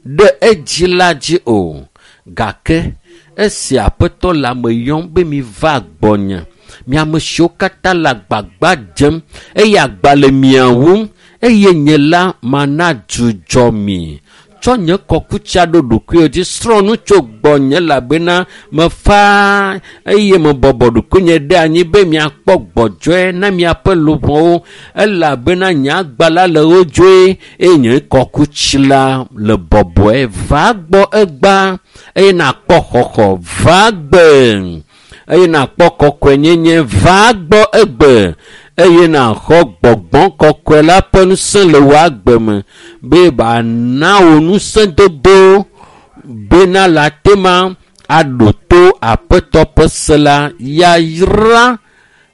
ɖe edzi la dzi o. Gake esi Aƒetɔ le ame yɔm be miva gbɔnye, mi ame siwo katã le agbagba dzem eye agba le mia wum eye nye la mana dzudzɔ mi. Tsɔ nye kɔkutsia ɖo ɖokuiwò dzi, srɔ̃ nu tso gbɔnye elabena mefa eye mebɔbɔ ɖokuinye ɖe anyi be miakpɔ gbɔdzɔe na miaƒe luʋɔwo elabena nye agba la le wodzoe eye nye kɔkutsi la le bɔbɔe. Va gbɔ egbea eye nàkpɔ xɔxɔ. Va gbe eye nàkpɔ kɔkɔenyenye. Va gbɔ egbe eye nàxɔ gbɔgbɔ kɔkɔe la ƒe ŋusẽ le wò agbe me be bana wò ŋusẽdodo bena le ate ma aɖo to Aƒetɔ ƒe se la. Yayra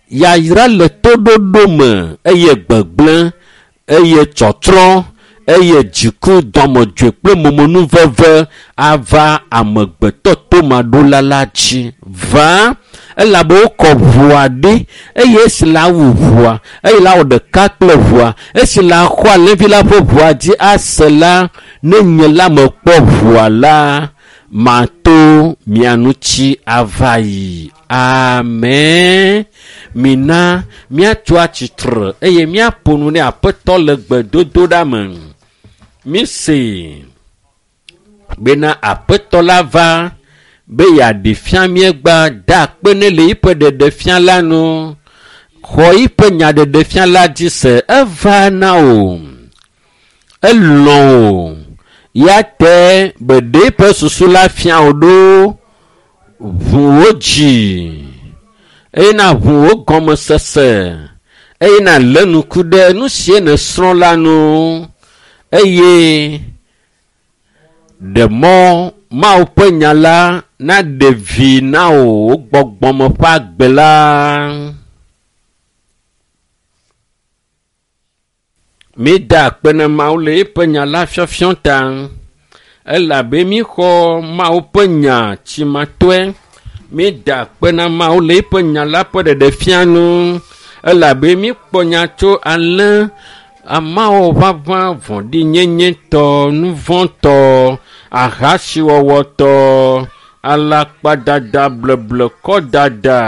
yayra le toɖoɖo me eye gbegblẽ eye tsɔtsrɔ̃ eye dziku dɔmedzoe kple momonuveve ava amegbetɔ tomaɖola la dzi. Va elabe wokɔ ʋua ɖi eye esi la wu ʋua eye la wɔ ɖeka kple ʋua esi la xɔ alẽvi la ƒe ʋua dzi ase la ne nye la mekpɔ ʋua la mato mia ŋuti ava yi. Amen. Mina míatso atsitre eye míaƒo nu ne Aƒetɔ le gbedodoɖa me. Mise bena Aƒetɔ la va be yeaɖe fia míegbea da akpe ne le yiƒe ɖeɖefia la nu. Xɔ yiƒe nyaɖeɖefia la dzi se. Eva na wò. Elɔ̃ wò. Ya te be ɖe eƒe susu la fia wò ɖo. Ʋu wò dzi eye nàʋu wò gɔmesese eye nàlé ŋku ɖe nu sie nèsrɔ̃ la nu eye ɖe mɔ Mawu ƒe nya la naɖe vi na wò wò gbɔgbɔme ƒe agbe la. Mída akpe na Mawu le eƒe nya la fiɔfiɔ ta elabe míxɔ Mawu ƒe nya tsimatɔe. Mída akpe na Mawu le eƒe nya la ƒe ɖeɖefia nu elabe míkpɔ nya tso alẽ amawo ʋaʋã vɔ̃ɖinyenyetɔ, nuvɔ̃tɔ, ahasiwɔwɔtɔ, alakpadada, bleblekɔdada.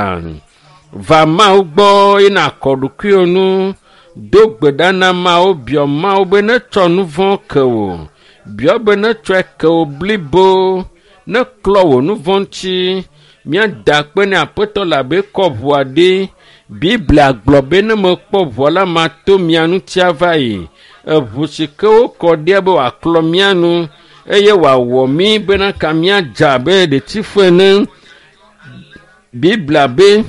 Va Mawu gbɔ eye nàkɔ ɖokuiwò nu. Do gbe ɖa na Mawu, biɔ Mawu be netsɔ nu vɔ̃ ke wò. Biɔ be netsɔe ke wò blibo, neklɔ wò nu vɔ̃ ŋuti. Míada akpe ne Aƒetɔ le abe kɔ ʋua ɖi. Biblia gblɔ be ne mekpɔ ʋua la mato mia ŋuti ava yi. Eʋu si ke wokɔ ɖia be wòaklɔ mía nu eye wòawɔ mí bena ka míadza abe ɖetifu ene. Biblia be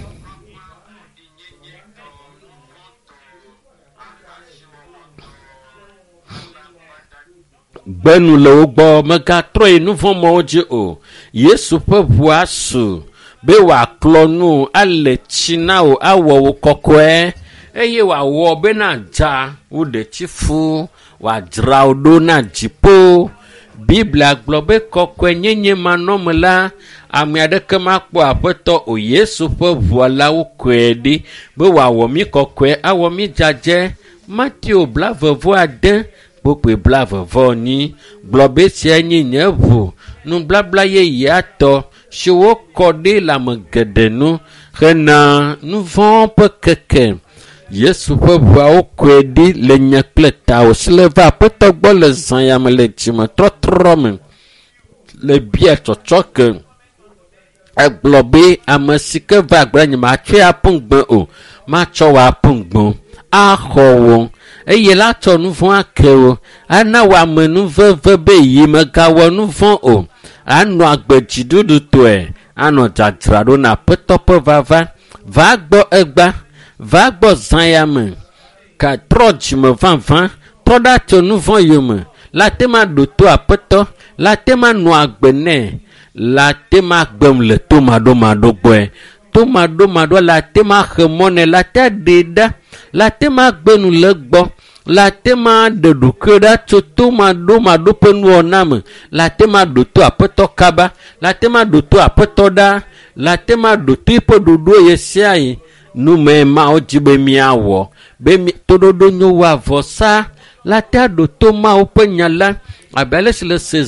gbe nu le wo gbɔ megatrɔ yi nu vɔ̃ mɔwo dzi o. Yesu ƒe ʋua su be wòaklɔ nu ale tsi na wò awɔ wò kɔkɔe eye wòawɔ be nadza wò ɖetifu wòadzra wò ɖo na dziƒo. Biblia gblɔ be kɔkɔenyenye manɔme la ame aɖeke makpɔ Aƒetɔ o. Yesu ƒe ʋua la wokɔe ɖi be wòawɔ mí kɔkɔe awɔ mí dzadzɛ. Mateo 29 kpukpui 42 gblɔ be esia nye nye ʋu nublabla yeyea tɔ si wokɔ ɖi le ame geɖe nu hena nu vɔ̃ ƒe keke. Yesu ƒe ʋuawo kɔe ɖi le nye kple tawò si le va Aƒetɔ gbɔ le zã ya me le dzimetɔtrɔ me le bia tsɔtsɔke. Egblɔ be ame si ke va agbe nye matsɔe aƒu ŋugbe o, matsɔ wò aƒu ŋugbe axɔ wò eye la tsɔ nu vɔ̃ ake wò ana wò amenuveve be yi megawɔ nu vɔ̃ o anɔ agbe dziɖuɖutɔe anɔ dzadzraɖo na Aƒetɔ ƒe vava. Va gbɔ egba, va gbɔ zã ya me ka trɔ dzime vavã trɔ ɖa tso nu vɔ̃ yome la te ma ɖo to Aƒetɔ la te ma nɔ agbe nɛ la te ma gbem le tomaɖomaɖo gbɔe. Tomaɖomaɖo la te ma xe mɔ nɛ la te ɖee ɖa la te ma gbe nu le egbɔ la te ma ɖe ɖokuiwò ɖa tso tomaɖomaɖo ƒe nuwɔna me la te ma ɖo to Aƒetɔ kaba la te ma ɖo to Aƒetɔ ɖa la te ma ɖo to eƒe ɖoɖo ɣe sia ɣi. Nume Mawu dzi be míawɔ be toɖoɖo nyo wu avɔsa la te aɖo to Mawu ƒe nya la abe ale si le se.